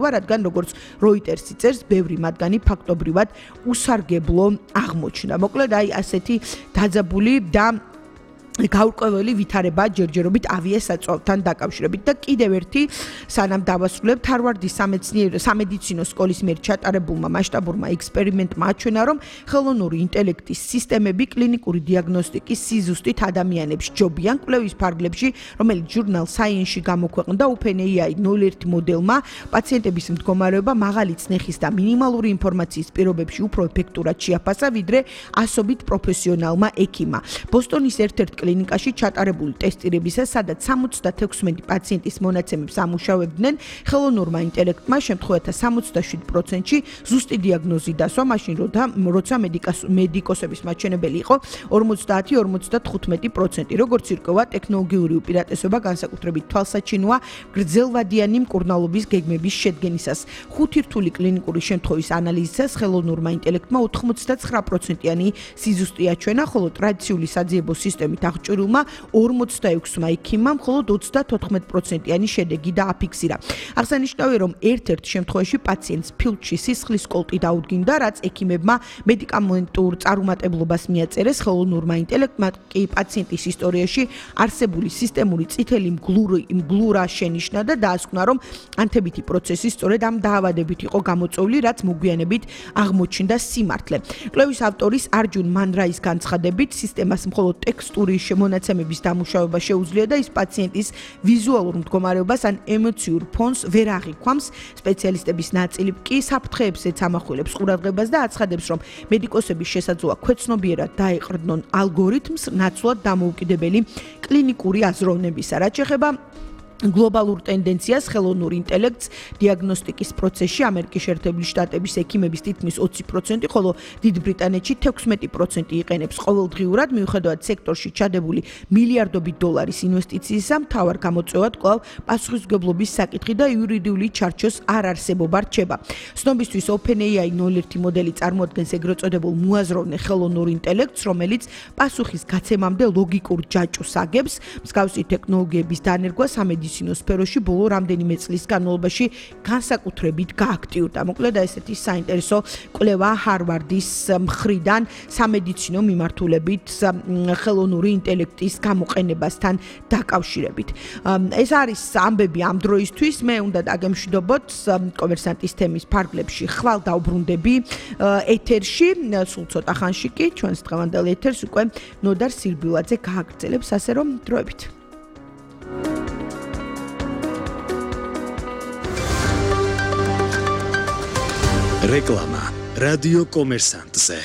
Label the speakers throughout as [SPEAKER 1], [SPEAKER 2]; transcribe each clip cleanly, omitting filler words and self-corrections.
[SPEAKER 1] რადგან როგორც Reuters-ი წერს, ბევრი მათგანი ფაქტობრივად უსარგებლო აღმოჩნდა. მოკლედ, აი ასეთი დაძაბული და გაურკვეველი ვითარება ჯერჯერობით ავიასაწვავთან დაკავშირებით და კიდევ ერთი სანამ დავასრულებთ ჰარვარდის სამედიცინო სკოლის მიერ ჩატარებულმა მასშტაბურმა ექსპერიმენტმა აჩვენა, რომ ხელოვნური ინტელექტის სისტემები კლინიკური დიაგნოსტიკის სიზუსტით ადამიანებს ჯობიან კვლევის ფარგლებში, რომელიც ჟურნალ Science-ში გამოქვეყნდა, OpenAI 01 მოდელმა პაციენტების მდგომარეობა მაღალი წნეხის და მინიმალური ინფორმაციის პირობებში უფრო ეფექტურად შეაფასა, ვიდრე ასობით პროფესიონალმა ექიმმა. ბოსტონის ერთ-ერთ კლინიკაში ჩატარებული ტესტირებისას, სადაც 76 პაციენტის მონაცემებს ამუშავებდნენ, ხელოვნურმა ინტელექტმა შემთხვევათა 67%-ში ზუსტი დიაგნოზი დასვა, მაშინ როცა მედიკოსების მაჩვენებელი იყო 50-55%. როგორც ირკვევა, ტექნოლოგიური უპირატესობა განსაკუთრებით თვალსაჩინოა გრძელვადიანი მკურნალობის გეგმების შედგენისას. 5 რთული კლინიკური შემთხვევის ანალიზისას ხელოვნურმა ინტელექტმა 99%-იანი სიზუსტი აჩვენა, ხოლო ტრადიციული საძიებო სისტემით აღჭურვილმა 46 ექიმმა მხოლოდ 34%-იანი შედეგი დააფიქსირა. აღსანიშნავია, რომ ერთ-ერთ შემთხვევაში პაციენტს ფილტვში სისხლის კოლტი დაუდგინდა, რაც ექიმებმა მედიკამენტურ წარუმატებლობას მიაწერეს. ხელოვნურმა ინტელექტმა კი პაციენტის ისტორიაში არსებული სისტემური წითელი მგლურა შენიშნა და დაასკვნა, რომ ანთებითი პროცესი სწორედ ამ დაავადებით იყო გამოწვეული, რაც მოგვიანებით აღმოჩნდა სიმართლე. კვლევის ავტორის არჯუნ მანრაის განცხადებით, სისტემას მხოლოდ ტექსტური მონაცემების დამუშავება შეუძლია და ის პაციენტის ვიზუალურ მდგომარეობას ან ემოციურ ფონს ვერ აღიქვამს. სპეციალისტების ნაწილი კი საფრთხეებსაც ამახვილებს ყურადღებას და აცხადებს, რომ მედიკოსების შესაძლოა ქვეცნობიერად დაეყრდნონ ალგორითმს ნაცვლად დამოუკიდებელი კლინიკური აზროვნებისა. რაც შეეხება გლობალურ ტენდენციას ხელოვნურ ინტელექტს დიაგნოსტიკის პროცესში ამერიკის შეერთებული შტატების ექიმების თითქმის 20%, ხოლო დიდ ბრიტანეთში 16% იყენებს ყოველდღიურად, მიუხედავად სექტორში ჩადებული მილიარდობით დოლარის ინვესტიციისა, მთავარ გამოწვევად კვლავ პასუხისმგებლობის საკითხი და იურიდიული ჩარჩოს არარსებობა რჩება. ცნობისთვის OpenAI 01 მოდელი წარმოადგენს ეგრეთ წოდებულ მოაზროვნე ხელოვნურ ინტელექტს, რომელიც პასუხის გაცემამდე ლოგიკურ ჯაჭვს აგებს. მსგავსი ტექნოლოგიების დანერგვა სამედიცინო სფეროში ბოლო რამდენიმე წლის განმავლობაში განსაკუთრებით გააქტიურდა. მოკლედ ესეთი საინტერესო კვლევა ჰარვარდის მხრიდან სამედიცინო მიმართულებით ხელოვნური ინტელექტის გამოყენებასთან დაკავშირებით. ეს არის ამბები ამ დროისთვის. მე უნდა დაგემშვიდობოთ კომერსანტის თემის ფარგლებში ხვალ დავბრუნდები ეთერში, სულ ცოტა ხანში კი ჩვენს დღევანდელ ეთერს უკვე ნოდარ სირბილაძე გააგრძელებს, ასე რომ დროებით.
[SPEAKER 2] რეკლამა რადიო კომერსანტზე.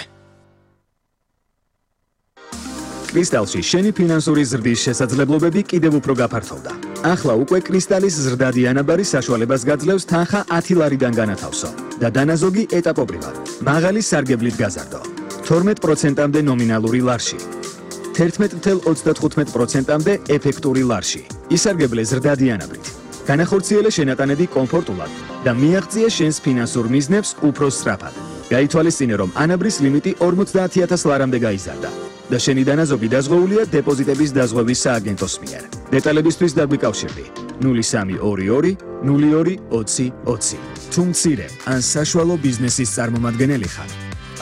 [SPEAKER 2] კრისტალში შენი ფინანსური ზრდის შესაძლებლობები კიდევ უფრო გაფართოვდა. ახლა უკვე კრისტალის ზრდადი ანაბარი საშუალებას გაძლევს თანხა 10 ლარიდან განათავსო და დანაზოგი ეტაპობრივად მაღალი სარგებლით გაზარდო. 12%-მდე ნომინალური ლარში. 11.35%-მდე ეფექტური ლარში. ისარგებლე ზრდადი ანაბრით. განახორციელე შენატანები კომფორტულად და მიაღწიე შენს ფინანსურ მიზნებს უფრო სწრაფად. გაითვალისწინე, რომ ანაბრის ლიმიტი 50,000 ლარამდე გაიზარდა და შენი დანაზოგი დაზღვეულია დეპოზიტების დაზღვევის სააგენტოს მიერ. დეტალებისთვის დაგვიკავშირდი 0322 02 20 20. თუ მცირე ან საშუალო ბიზნესის წარმომადგენელი ხარ,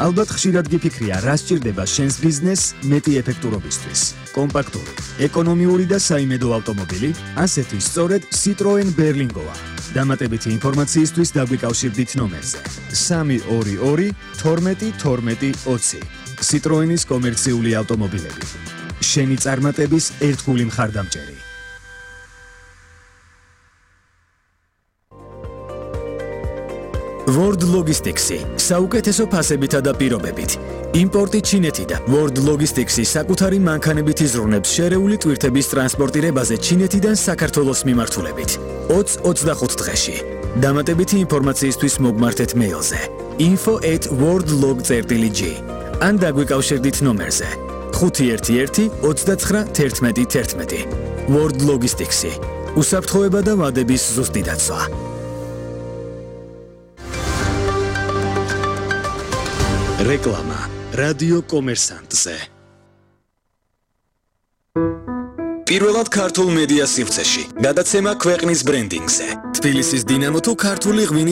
[SPEAKER 2] ალბათ ხშირად გიფიქრია, რა სჭირდება შენს ბიზნესს მეტი ეფექტურობისთვის. კომპაქტური, ეკონომიური და საიმედო ავტომობილი, ასეთი სწორედ Citroen Berlingoა. დამატებითი ინფორმაციისთვის დაგვიკავშირდით ნომერზე 322 12 12 20. Citroenis კომერციული ავტომობილები. შენი წარმატების ერთგული მხარდამჭერი. World Logistics-ი საუკეთესო ფასებითა და პირობებით. იმპორტი ჩინეთიდან. World Logistics-ი საკუთარი მანქანებით იზრუნებს შერეული ტვირთების ტრანსპორტირებაზე ჩინეთიდან საქართველოს მიმართულებით. 20-25 დღეში. დამატებითი ინფორმაციისთვის მოგმართეთ მეილზე info@worldlog.gr ან დაგვიკავშირდით ნომერზე 511 29 11 11. World Logistics-ი. უსაფრთხოება და ვადების ზუსტი დაცვა. რეკლამა რადიო კომერსანტზე. პირველად ქართულ მედია სივრცეში. გადაცემა ქვეყნის ბრენდინგზე. თბილისის დინამო თუ ქართული ღვინის